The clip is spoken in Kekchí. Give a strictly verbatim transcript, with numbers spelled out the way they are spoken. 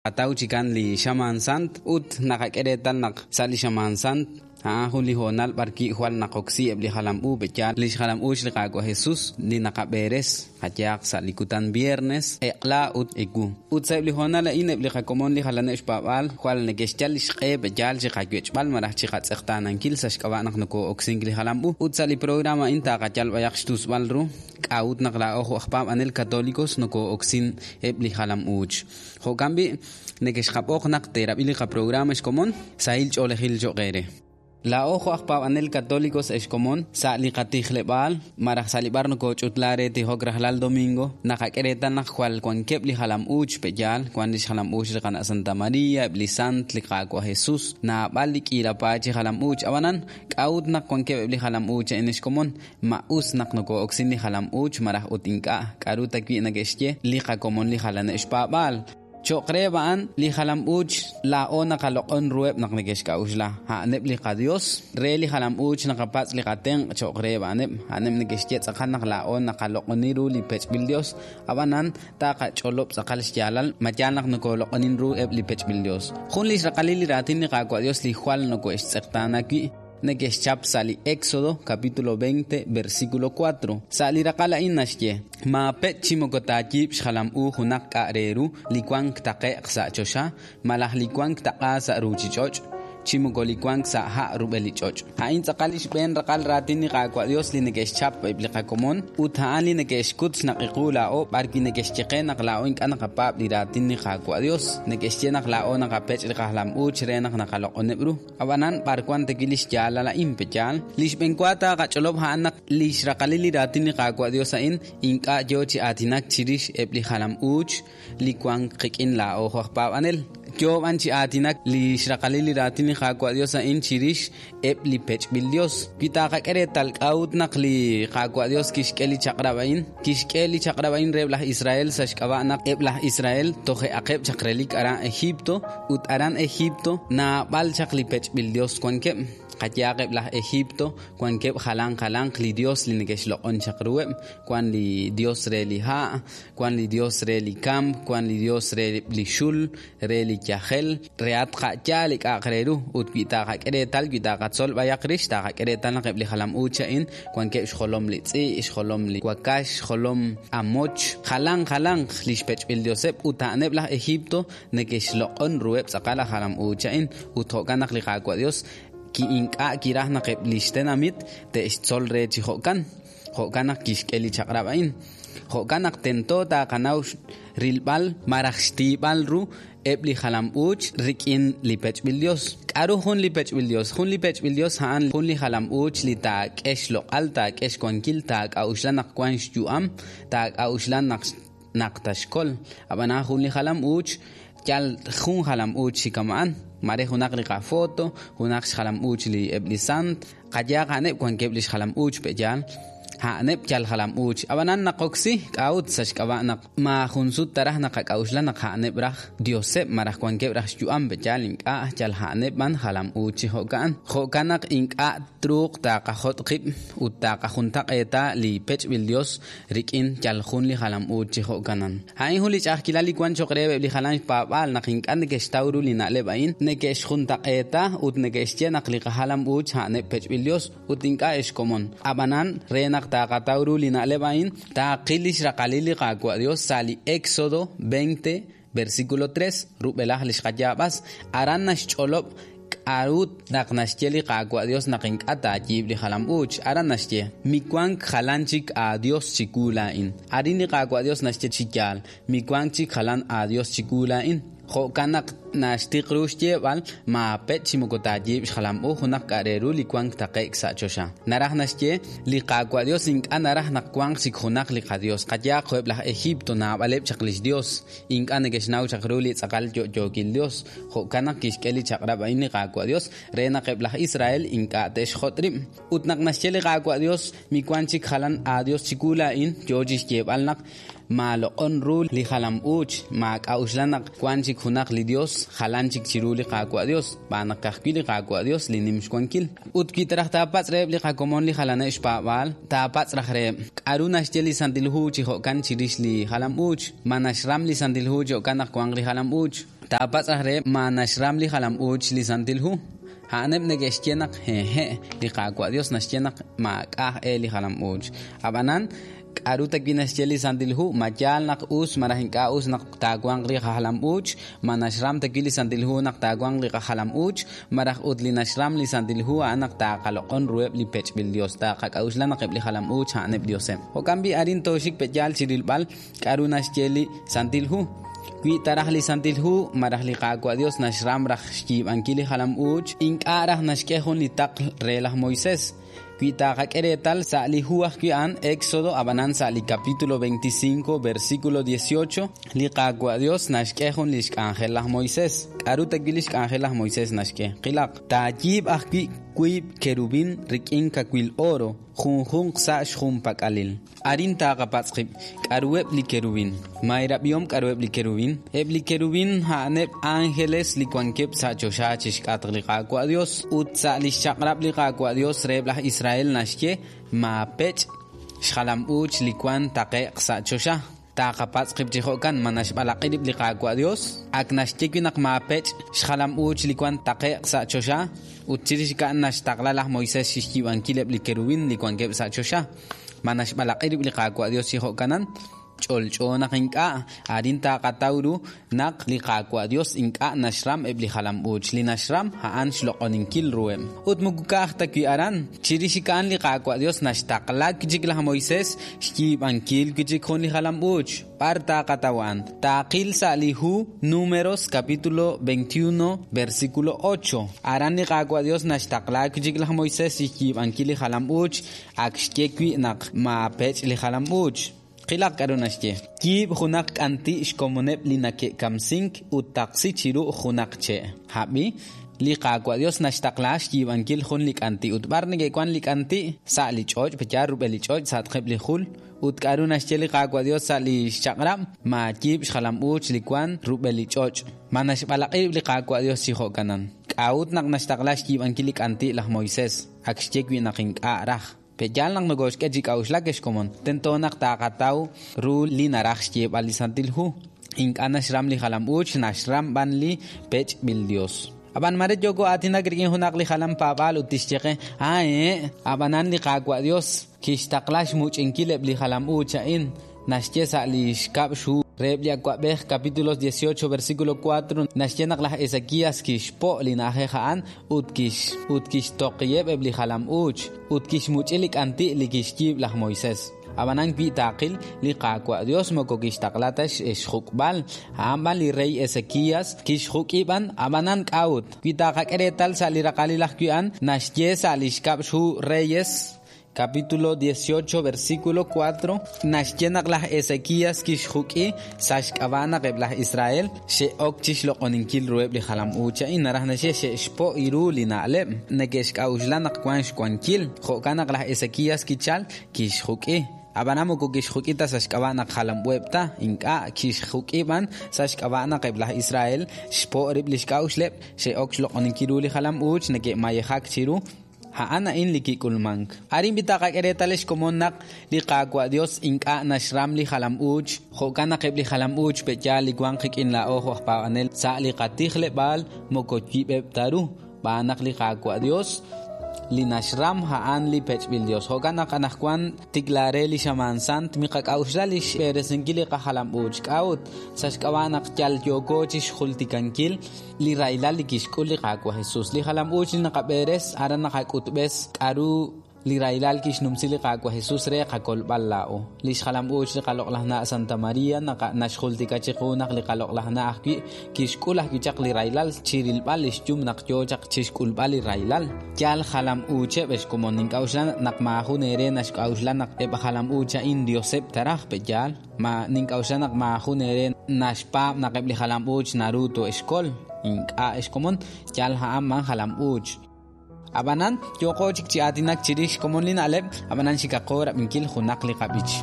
Ataw chikan li xamaan sant ut naqak'e reetal naq sa' li xamaan sant a'an jun li hoonal b'ar wi' jwal naqoksi eb' li jalam u pe'yaal li xjalam uuch li Qaawa' Jesus li naqab'eres qayehaq sa' li kutan viernes eq'la ut ewu. Ut sa'eb' li hoonal a'in eb' li qakomon li jalaneb' xpaab'aal jwal neke'xyal li xq'e pe'yaal chi qawech'b'al malaj chi qatz'eqtaanankil sa' xk'ab'a' naq nokoo'oksink li jalam u. Ut sa' li programa a'in taqayal b'ayaq xtusb'al ru k'a'ut naq laa'o jo' aj paab'anel katolikos nokoo'oksin eb' li jalam uuch. Jo'kan b'i' neke'xqab'oq naq teerab'i li qaprograma xkomon sahil ch'oolejil cho'q eere. Laa'o jo' aj paab'anel katolikos ex komon sa' li qatijleb'aal malaj sa' li b'ar nokooch'utla re tijok rajlal domingo naqak'e reetal naq jwal wankeb' li jalam uuch pe'yaal wan li xjalam uuch li qana' Santa Maria, eb' li sant, li Qaawa' Jesus, naab'al li k'iila paay chi jalam uuch. Ab'anan k'a'ut naq wankeb' eb' li jalam uuch a'in ex komon ma us naq nokoo'oksin li jalam uuch malaj ut ink'a' k'a'ru ta wi' neke'xye li qakomon li jalaneb' xpaab'aal. Cho'q reheb' a'an li jalam uuch laa'o naqaloq'on ruheb' naq neke'xk'a'uxla. A'aneb' li qadios re li jalam uuch naqapatz' li qatenq' cho'q reheb' a'aneb'. A'aneb' neke'xye tz'aqal naq laa'o naqaloq'oni ru li pech'b'il Dios. Ab'anan taqach'olob' tz'aqal xyaalal ma yaal naq nokoloq'onin ru eb' li pech'b'il Dios. Jun li xraqalil li raatin li Qaawa' Dios li jwal noko'extz'eqtaana wi' neke'xchap sa' li Éxodo capítulo veinte versículo cuatro. Sa' li raqal a'in naxye maapech' chi moko taayiib' xjalam u junaq k'a' re ru li wank taqe'q sa' choxa malaj li wank taq'a sa' ruuchich'och' chi moko li wank sa' ha' rub'el li ch'och'. A'in tz'aqal li xb'een raqal raatin li Qaawa' Dios li neke'xchap eb' li qakomon ut a'an li neke'xkut xnaqiqu laa'o b'ar wi' neke'xyeqe naq laa'o ink'a' naqapaab' li raatin li Qaawa' Dios. Neke'xye naq laa'o naqapech' li qajalam uuch re naq naqaloq'oneb' ru. Ab'anan b'ar wan ta wi' li xyaalal a'in pe'yaal. Li xb'een wa taaqach'olob' a'an naq li xraqalil li raatin li Qaawa' Dios a'in ink'a' yoo chi aatinak chirix eb' li jalam uuch li wank qik'in laa'o jo' aj paab'anel. Yoo b'an chi aatinak li xraqalil li raatin li Qaawa' Dios a'in chirix eb' li pech'b'il Dios. Wi taqak'e reetal k'a'ut naq li Qaawa' Dios kixk'e li chaq'rab' a'in, kixk'e li chaq'rab' a'in reheb' laj Israel sa' xk'ab'a' naq eb' laj Israel toje'aqeb' chaq relik aran Egipto ut aran Egipto naab'al chaq li pech'b'il Dios wankeb'. Qayehaq eb' laj Egipto wankeb' jalan jalanq li Dios li neke'xloq'on chaq ruheb', wan li Dios re li ha', wan li Dios re li kamp, wan li Dios re li xul, re li yajel, re at qa'yaal li k'a'aq re ru. Ut wi taqak'e reetal, wi taqatzol b'ayaq rix, taqak'e reetal naq eb' li jalam uuch a'in wankeb' xjolom li tz'i', xjolom li wakax, xjolom amoch, jalan jalanq li xpech'b'il Dioseb' ut a'aneb' laj Egipto neke'xloq'on ruheb' tz'aqal laj jalam uuch a'in. Ut jo'kan naq li Qaawa' Dios ki ink'a' kiraj naq eb' li xtenamit te'xtzol re chi jo'kan. Jo'kan naq kixk'e li chaq'rab' a'in. Jo'kan naq tento taqanaw rilb'al malaj xtiib'al ru eb' li jalam uuch rik'in li pech'b'il Dios. K'a'ru jun li pech'b'il Dios? Jun li pech'b'il Dios a'an jun li jalam uuch li taak'e xloq'al, taak'e xwankil, taak'a'uxla naq wan xyu'am, taak'a'uxla naq naq taxkol. Ab'anan jun li jalam uuch yal jun jalam uuch chi kama'an. Mare junaq li qafoto, junaq xjalam uuch li eb' li sant, qayehaq a'aneb' wankeb' li xjalam uuch pe'yaal. A'aneb' yal jalam uuch. Ab'anan naqoksi k'a'ut sa' xk'ab'a' naq maajun sut taraj naqak'a'uxla naq a'aneb' raj Dioseb' malaj wankeb' raj xyu'am pe'yaal ink'a' yal a'aneb' b'an jalam uuch chi jo'kan. Jo'kan naq ink'a' truuq taqajot' qib' ut taqajuntaq'eeta li pech'b'il Dios rik'in yal jun li jalam uuch chi jo'kanan. A'in jun li ch'a'ajkilal li wan cho'q reheb' li jalan xpaab'aal naq ink'a' neke'xtaw ru li na'leb' a'in, neke'xjuntaq'eeta ut neke'xye naq li qajalam uuch a'aneb' pech'b'il Dios ut ink'a' exkomon. Ab'anan re naq taqataw ru li na'leb' a'in, taqil li xraqalil li Qaawa' Dios sa' li Éxodo veinte versículo tres rub'elaj li xqayaab'as. Aran naxch'olob' k'a'ut naq naxye li Qaawa' Dios naq ink'a' taayiib' li jalam uuch. Aran naxye miwank jalan chik aadios chiwu laa'in. Arin li Qaawa' Dios naxye chi yaal miwank chik jalan aadios chiwu laa'in. Jo'kan naq naxtiq ru xyeeb'al maapech' chi moko taayiib' xjalam u junaq k'a' re ru li wank taqe'k sa' choxa. Naraj naxye li Qaawa' Dios ink'a' naraj naq wanq chik junaq li qadios. Qayehaq jo'eb' laj Egipto naab'aleb' chaq lix Dios, ink'a' neke'xnaw chaq ru li tz'aqal yo'yookil Dios. Jo'kan naq kixk'e li chaq'rab' a'in li Qaawa' Dios re naq eb' laj Israel ink'a' te'xjot' rib'. Ut naq naxye li Qaawa' Dios miwank chik jalan aadios chiwu laa'in, yoo chi xyeeb'al naq maaloq'on ru li jalam uuch, maak'a'uxla naq wan chik junaq li Dios jalan chik chiru li Qaawa' Dios, b'aan naq ka'ajwi' li Qaawa' Dios li nim xwankil. Ut wi taraj taapatz' reheb' li qakomon li jalaneb' xpaab'aal, taapatz' raj reheb' k'a'ru naxye li Santil Hu chi jo'kan chirix li jalam uuch, ma naxram li Santil Hu chi jo'kan naq wanq li jalam uuch. Taapatz' raj reheb' ma naxram li jalam-uuch li Santil Hu. A'aneb' neke'xye naq hehe', li Qaawa' Dios naxye naq maak'a' e li jalam-uuch. Ab'anan k'aru ta wi' naxye li Santil Hu? Ma yaal naq us malaj ink'a' us naq taawanq li qajalam-uuch? Ma naxram ta wi' li Santil Hu naq taawanq li qajalam-uuch? Malaj ut li naxram li Santil Hu a'an naq taaqaloq'on ruheb' li pech'b'il Dios, taaqak'a'uxla naq eb' li jalam-uuch a'aneb' Dioseb'. Jo'kan b'i' arin tooxik pe'yaal chi rilb'al k'aru naxye li Santil Hu. Wi taraj li Santil Hu malaj li Qaawa' Dios naxram raj xyiib'ankil li jalam-uuch, ink'a' raj naxk'e jun li taql re laj Moisés. Wi taqak'e reetal sa' li hu ajwi' a'an Éxodo, ab'anan sa' li capítulo veinticinco, versículo dieciocho, li Qaawa' Dios naxk'e jun li xk'anjel laj Moisés. K'aru ta wi' li xk'anjel laj Moisés naxk'e? Qilaq. Taayiib' ajwi' wiib' kerubín rik'in kawil oro, junjunq sa' xjunpak'alil. Arin taqapatz' qib', k'aruheb' li kerubín? Ma eerab'ihom k'aruheb' li kerubín? Eb' li kerubín a'aneb' ángeles li wankeb' sa' choxa chixk'atq li Qaawa' Dios, ut sa' li xchaq'rab' li Qaawa' Dios reheb' laj Israel naxye maapech' xjalam-uuch li wan taqe'q sa' choxa. Taqapatz' qib' chi jo'kan, ma naxb'alaq'i rib' li Qaawa' Dios? Ak naxye wi' naq maapech' xjalam-uuch li wan taqe'q sa' choxa, ut chirix a'an naxtaqla laj Moisés xyiib'ankil eb' li kerubín li wankeb' sa' choxa. Ma naxb'alaq'i rib' li Qaawa' Dios chi jo'kanan? Ch'olch'o naq ink'a'. Arin taqataw ru naq li Qaawa' Dios ink'a' naxram eb' li jalam-uuch. Li naxram a'an xloq'oninkil ruheb'. Ut moko ka'aj ta wi' aran. Chirix a'an li Qaawa' Dios naxtaqla chik laj Moisés xyiib'ankil wi' chik jun li jalam-uuch. B'ar taqataw a'an? Taqil sa' li hu Números capítulo veintiuno, versículo ocho. Aran li Qaawa' Dios naxtaqla chik laj Moisés xyiib'ankil li jalam-uuch. Ak xye wi' naq maapech' li jalam-uuch. Qilaq k'aru naxye. Yiib' junaq k'anti' xkomoneb' li nake'kamsink ut taqsi chiru junaq che'. Hab'i, li Qaawa' Dios naxtaqla xyiib'ankil jun li k'anti' ut b'ar neke'wan li k'anti' sa' li ch'och', pe'yaal rub'el li ch'och' sa'atqeb' li jul. Ut k'aru naxye li Qaawa' Dios sa' li xchaq'rab'? Maayiib' xjalam-uuch li wan rub'el li ch'och'. Ma naxb'alaq'i li Qaawa' Dios chi jo'kanan? K'a'ut naq naxtaqla xyiib'ankil li k'anti' laj Moisés? Ak xye wi' naq ink'a' raj. Pe'yaal naq nokoxk'e chi k'a'uxlak xkomon. Tento naq taqataw ru li naraj xyeeb'al li Santil Hu. Ink'a' naxram li jalam-uuch, naxram b'an li pech'b'il Dios. Ab'an mare yoko aatinak rik'in junaq li jalam paab'aal ut tixye qe, ah, eh, ab'anan li Qaawa' Dios kixtaqla xmuch'inkil eb' li jalam-uuch a'in. Naxye sa' li xkab' xhu reheb' li awa'b'ej capítulos dieciocho, versículo cuatro, naxye naq laj Ezequías kixpo' li na'ajej a'an ut kix ut kixtoqiyeb' eb' li jalam-uuch ut kixmuch'i li k'anti' li kixyiib' laj Moisés. Ab'anan wi' taqil li Qaawa' Dios moko kixtaqla ta xjuk'b'al, a'an b'an li rey Ezequías kixjuk'i b'an, ab'anan k'a'ut. Wi taqak'e reetal sa' li raqalil ajwi' a'an, naxye sa' li xkab' xhu Reyes capítulo dieciocho, versículo cuatro, naxye naq laj Ezequías kixjuk'i sa' xk'ab'a' naq eb' laj Israel xe'ok chixloq'oninkil ruheb' li jalam-uuch a'in. Naraj naxye xe'xpo' ru li na'leb' neke'xk'a'uxla naq wan xwankil. Jo'kan naq laj Ezequías kichal kixjuk'i. Ab'anan moko kixjuk'i ta sa' xk'ab'a' naq jalam-uueb' ta, ink'a' kixjuk'i b'an sa' xk'ab'a' naq eb' laj Israel xpo' rib' li xk'a'uxleb', xe'ok xloq'oninkil ru li jalam-uuch neke'mayejak chiru. A'an a'in li kik'ulmank. Arin b'i taqak'e reetal xkomon naq li Qaawa' Dios ink'a' naxram li jalam-uuch. Jo'kan naq eb' li jalam-uuch pe'yaal li wanq rik'in laa'o jo' aj paab'anel sa' li qatijleb'aal moko yib'eb' ta ru. B'aan naq li Qaawa' Dios li naxram a'an li pech'b'il Dios. Jo'kan naq anaqwan tiklare li xamaan sant miqak'a'uxla li xb'eresinkil li qajalam-uuch. K'a'ut sa' xk'ab'a' naq yal yooko chixjultikankil li rahilal li kixk'ul li Qaawa' Jesús. Li jalam-uuch li naqab'eres aran naqak'utb'es k'aru li rahilal kixnumsi li Qaawa' Jesús re qakolb'al laa'o. Li xjalam-uuch li qaloq'laj na' Santa María naxjultika chiqu naq li qaloq'laj na' ajwi' kixk'ul ajwi' chaq li rahilal chirilb'al li xyum naq yoo chaq chixk'ulb'al li rahilal. Yal jalam-uucheb' xkomon nink'a'uxla naq maajun eere naxk'a'uxla naq eb' jalam-uuch a'in Dioseb' taraj pe'yaal. Ma nink'a'uxla naq maajun eere naxpaab' naq eb' li jalam-uuch naru to'exkol. Ink'a' xkomon yal a'an man jalam-uuch. Ab'anan yooko chik chi aatinak chirix xkomon li na'leb', ab'anan xikaqo rab'inkil junaq li qab'ich.